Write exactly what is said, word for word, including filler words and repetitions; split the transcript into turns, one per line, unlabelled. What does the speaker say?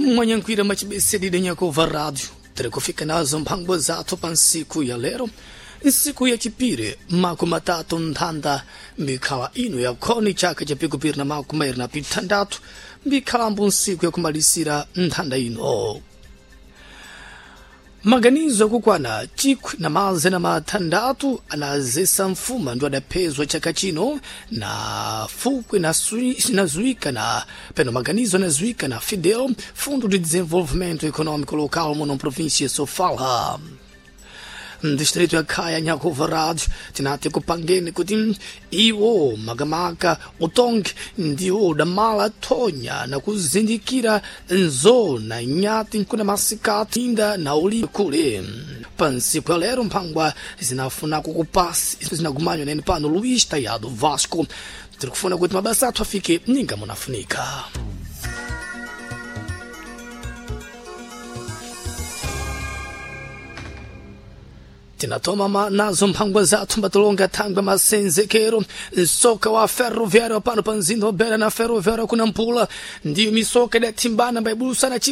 Mwanyankwira machibesedide nyakova rádio tirikufika nazo mphango zathu pa nsiku ya lero, nsiku ya chipiri, makumi matatu nthanda mbikhala ino ya khoni chaka cha pikupiri na makumi mairi na pithandathu, mbikhalambo nsiku yakumalisira nthanda ino. Maganizo akukwana chikwi na mazana mathandatu anazesa mfuma ndo adaphezwa chaka chino na fukwe na sui- na zuika na peno maganizo anazuika na Fidel, Fundo de Desenvolvimento Econômico Local muno província Sofala, distrito ya Khaya. Nyakuva rádio tinati kupangeni kuti iwo makamaka utongi ndiwo udamala thonya na kuzindikira nzona nyati kuna masikati inda na uli kule. Pa nsiku ya lero mphangwa zinafuna kukupasi zinagumanywa nene pano Luís Tayado Vasco. Tirikufuna kuti mabasa athu afike ninga munafunika. Tinatoma ma nazo mphangwa zathu mbatolonga thangwe masenzekero nsoka wa ferroviário pano pa mzinda wa Beira na ferroviário kuna mpula ndiyo misoka idathimbana mbaibulusa na chiba.